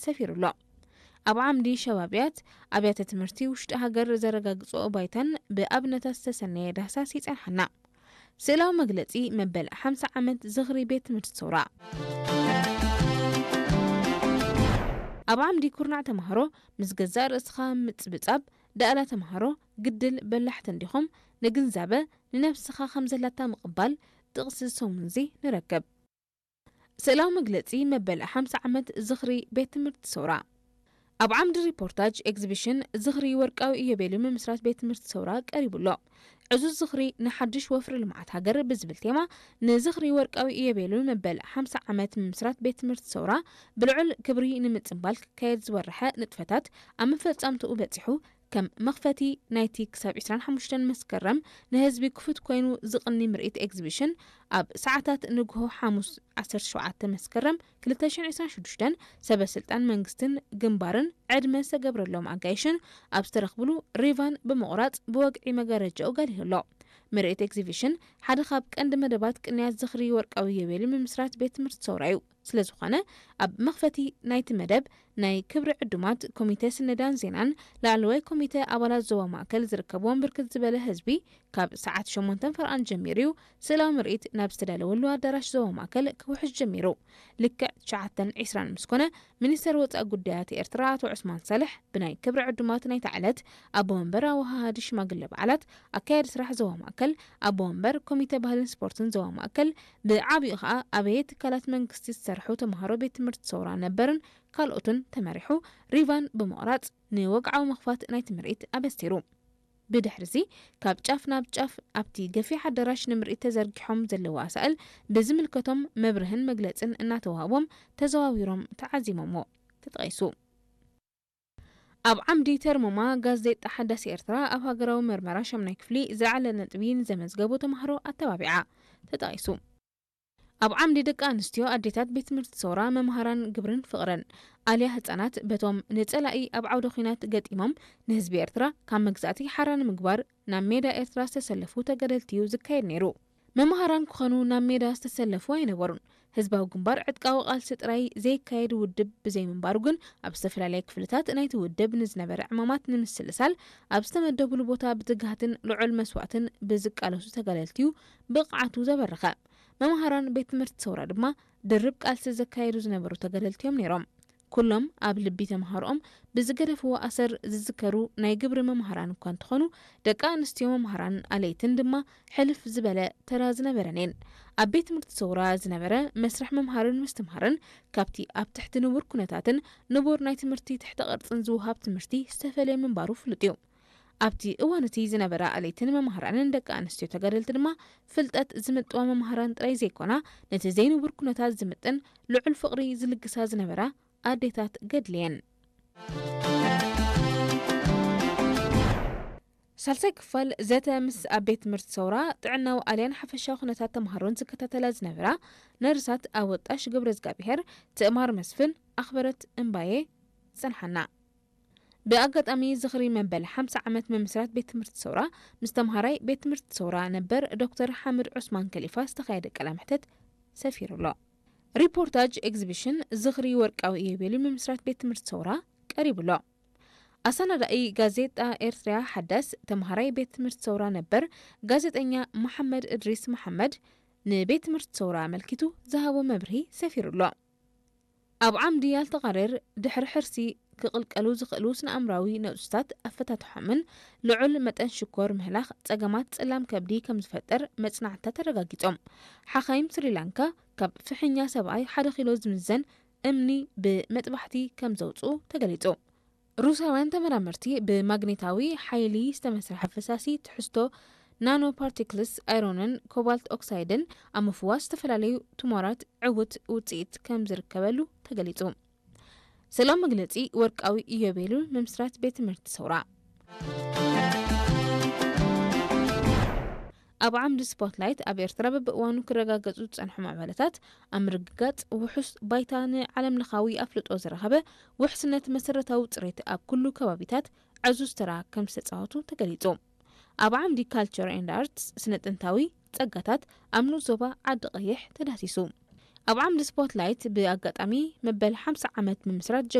ሰፊሩ ኣሎ። ኣብ ዓምዲ ሸባብያት ኣብያተ ትምህርቲ ውሽጢ ሃገር ዘረጋግጾ ባይታን ብኣብነታት ዝተሰነየ ዳህሳስ ይጸንሓና። ስእላዊ መግለጺ መበል ሓምሳ ዓመት ዝኽሪ ቤት ትምህርቲ ሰውራ። ኣብ ዓምዲ ኩርናዕ ተማሃሮ ምስ ገዛእ ርእስኻ ምጽብጻብ፣ ደኣላ ተማሃሮ ግድል በላሕቲ እንዲኹም፣ ንግንዛበ ንነብስኻ ከም ዘላታ ምቕባል፣ ጥቕሲ ሰሙንዚ ንረክብ። ስእላዊ መግለጺ መበል ሓምሳ ዓመት ዝኽሪ ቤት ትምህርቲ ሰውራ። ኣብ ዓምዲ ሪፖርታጅ ኤግዚቢሽን ዝኽሪ ወርቃዊ ኢዮቤልዩ ምምስራት ቤት ትምህርቲ ሰውራ ቀሪቡ ኣሎ። ዕዙዝ ዝኽሪ ንሓድሽ ወፍሪ ልምዓት ሃገር ብዝብል ቴማ፣ ንዝኽሪ ወርቃዊ ኢዮቤልዩ መበል ሓምሳ ዓመት ምምስራት ቤት ትምህርቲ ሰውራ ብልዑል ክብሪ ንምጽንባል ክካየድ ዝወረሐ ንጥፈታት ኣብ መፈጻምትኡ በጺሑ፣ ከም መኽፈቲ ናይቲ ክሳብ ዕስራን ሓሙሽተን መስከረም ንህዝቢ ክፉት ኮይኑ ዝቕኒ ምርኢት ኤግዚቢሽን፣ ኣብ ሰዓታት ንግሆ ሓሙስ ዓሰርተ ሸውዓተ መስከረም ክልተ ሽሕን ዕስራን ሽዱሽተን፣ ሰበ ስልጣን መንግስትን ግንባርን ዕድመ ዝተገብረሎም ኣጋይሽን ኣብ ዝተረኽብሉ ሪቫን ብምቑራጽ ብወግዒ መጋረጃኡ ጋሊሁ ኣሎ። ምርኢት ኤግዚቢሽን ሓደ ካብ ቀንዲ መደባት ቅንያት ዝኽሪ ወርቃዊ ኢዮቤልዩ ምምስራት ቤት ትምህርቲ ሰውራ እዩ። ስለ ዝኾነ፣ ኣብ መኽፈቲ ናይቲ መደብ ናይ ክብሪ ዕዱማት ኮሚተ ስነዳን ዜናን ላዕለዋይ ኮሚተ ኣባላት ዞባ ማእከል ዝርከብዎም ብርክት ዝበለ ህዝቢ ካብ ሰዓት ሸሞንተን ፈርቓን ጀሚሩ እዩ ስእላዊ ምርኢት ናብ ዝተዳለወሉ ኣዳራሽ ዞባ ማእከል ክውሕዝ ጀሚሩ። ልክዕ ትሽዓተን ዕስራን ምስ ኮነ፣ ሚኒስተር ወጻኢ ጉዳያት ኤርትራ ኣቶ ዑስማን ሳልሕ ብናይ ክብሪ ዕዱማት ናይታ ዕለት ኣቦ መንበር ኣወሃሃዲ ሽማግለ በዓላት ኣካያዲ ስራሕ ዞባ ማእከል፣ ኣቦ መንበር ኮሚተ ባህልን ስፖርትን ዞባ ማእከል፣ ብዓቢኡ ኸኣ ኣበየ ትካላት መንግስቲ ዝሰርሑ ተምሃሮ ቤት ትምህርቲ ሰውራ ነበርን ካልኦትን ተመሪሑ ሪቫን ብምቑራጽ ንወግዓዊ ምኽፋት ናይቲ ምርኢት ኣበሲሩ። ብድሕሪዚ ካብ ጫፍ ናብ ጫፍ ኣብቲ ገፊሕ ኣዳራሽ ንምርኢት ተዘርጊሖም ዘለዉ ኣሳእል ብዝምልከቶም መብርህን መግለጽን እናተዋህቦም ተዘዋዊሮም ተዓዚሞምዎ። ተጠቒሱ። ኣብ ዓምዲ ተርሞማ ጋዜጣ ሓዳስ ኤርትራ ኣብ ሃገራዊ መርመራ ሻምናይ ክፍሊ ዝለዓለ ነጥቢ ንዘመዝገቡ ተምሃሮ ኣተባቢዓ። ተጠቒሱ። ኣብ ዓምዲ ደቂ ኣንስትዮ ኣዴታት ቤት ትምህርቲ ሰውራ መምሃራን ግብርን ፍቕርን ኣልያ ህጻናት በቶም ንጸላኢ ኣብ ዓውደ ኲናት ገጢሞም ንህዝቢ ኤርትራ ካብ መግዛእቲ ሓራ ንምግባር ናብ ሜዳ ኤርትራ ዝተሰለፉ ተጋደልቲ እዩ ዝካየድ ነይሩ። መምሃራን ክኾኑ ናብ ሜዳ ዝተሰለፉ ኣይነበሩን። ህዝባዊ ግንባር ዕጥቃዊ ቃልሲ ጥራይ ዘይካየድ ውድብ ብዘይምንባሩ ግን ኣብ ዝተፈላለየ ክፍልታት ናይቲ ውድብ ንዝነበረ ዕማማት ንምስልሳል ኣብ ዝተመደቡሉ ቦታ ብትግሃትን ልዑል መስዋእትን ብዝቃለሱ ተጋደልቲ እዩ ብቕዓቱ ዘበረኸ። መምሃራን ቤት ትምህርቲ ሰውራ ድማ ድርብ ቃልሲ ዘካየዱ ዝነበሩ ተጋደልቲ እዮም ነይሮም። ኩሎም ኣብ ልቢ ተምሃሮኦም ብዝገደፍዎ ኣሰር ዝዝከሩ ናይ ግብሪ መምሃራን እኳ እንተኾኑ፣ ደቂ ኣንስትዮ መምሃራን ኣለይትን ድማ ሕልፍ ዝበለ ተራ ዝነበረን እየን። ኣብ ቤት ትምህርቲ ሰውራ ዝነበረ መስርሕ ምምሃርን ምስትምሃርን ካብቲ ኣብ ትሕቲ ንቡር ኩነታትን ንቡር ናይ ትምህርቲ ትሕተ ቅርጽን ዝወሃብ ትምህርቲ ዝተፈለየ ምንባሩ ፍሉጥ እዩ። ኣብቲ እዋን እቲ ዝነበራ ኣለይትን መምሃራንን ደቂ ኣንስትዮ ተጋደልቲ ድማ ፍልጠት ዝምጥዋ መምሃራን ጥራይ ዘይኮና፣ ነቲ ዘይንቡር ኩነታት ዝምጥን ልዑል ፍቕሪ ዝልግሳ ዝነበራ ኣዴታት ገድሊ እየን። ሳልሳይ ክፋል ዘተ ምስ ኣብ ቤት ትምህርቲ ሰውራ ጥዕናዊ ኣልያን ሓፈሻዊ ኩነታት ተምሃሮን ዝከታተላ ዝነበራ ነርሳት ኣወጣሽ ገብረ እግዚኣብሔር፣ ትእማር መስፍን፣ ኣኽበረት እምባዬ ጸንሓና። ብኣጋጣሚ ዝኽሪ መበል ሓምሳ ዓመት ምምስራት ቤት ትምህርቲ ሰውራ ምስ ተምሃራይ ቤት ትምህርቲ ሰውራ ነበር ዶክተር ሓምድ ዑስማን ከሊፋ ዝተኻየደ ቃለ መሕተት ሰፊሩ ኣሎ። ሪፖርታጅ ኤግዚቢሽን ዝኽሪ ወርቃዊ ኢዮቤልዩ ምምስራት ቤት ትምህርቲ ሰውራ ቀሪቡ ኣሎ። ኣሰናዳኢ ጋዜጣ ኤርትርያ ሓዳስ ተምሃራይ ቤት ትምህርቲ ሰውራ ነበር ጋዜጠኛ መሓመድ እድሪስ መሓመድ ንቤት ትምህርቲ ሰውራ ኣመልኪቱ ዝሃቦ መብርሂ ሰፊሩ ኣሎ። ኣብ ዓምዲ ኣልተቓሬር ድሕሪ ሕርሲ ክቕልቀሉ ዝኽእሉ ስነ-ኣእምራዊ ነውጽታት ኣፈታትሖምን ልዑል መጠን ሽኮር ምህላኽ ጸገማት ጽላም ከብዲ ከም ዝፈጥር መጽናዕትታት ኣረጋጊጾም። ሓኻይም ስሪላንካ ካብ ፍሕኛ ሰብኣይ ሓደ ኪሎ ዝምዘን እምኒ ብመጥባሕቲ ከም ዘውጽኡ ተገሊጹ። ሩሳውያን ተመራመርቲ ብማግኔታዊ ሓይሊ ዝተመስርሐ ፈሳሲ ትሕዝቶ ናኖ ፓርቲክልስ ኣይሮንን ኮባልት ኦክሳይድን ኣብ ምፍዋስ ዝተፈላለዩ ቱሞራት ዕዉት ውጽኢት ከም ዝርከበሉ ተገሊጹ። ስእላዊ መግለጺ ወርቃዊ ኢዮቤሉ ምምስራት ቤት ትምህርቲ ሰውራ። ኣብ ዓምዲ ስፖትላይት ኣብ ኤርትራ በብእዋኑ ክረጋገጹ ዝጸንሑ ምዕባለታት ኣብ ምርግጋጽ ውሑስ ባይታ ንዓለምለኻዊ ኣፍልጦ ዝረኸበ ውሕስነት መሰረታዊ ጽሬት ኣብ ኩሉ ከባቢታት ዕዙዝ ተራ ከም ዝተጻወቱ ተገሊጹ። ኣብ ዓምዲ ካልቸር ኤንድ ኣርትስ ስነ ጥንታዊ ጸጋታት ኣብ ንኡስ ዞባ ዓዲ ቀይሕ ተዳህሲሱ። ኣብ ዓምዲ ስፖትላይት ብኣጋጣሚ መበል ሓምሳ ዓመት ምምስራት ጀጋ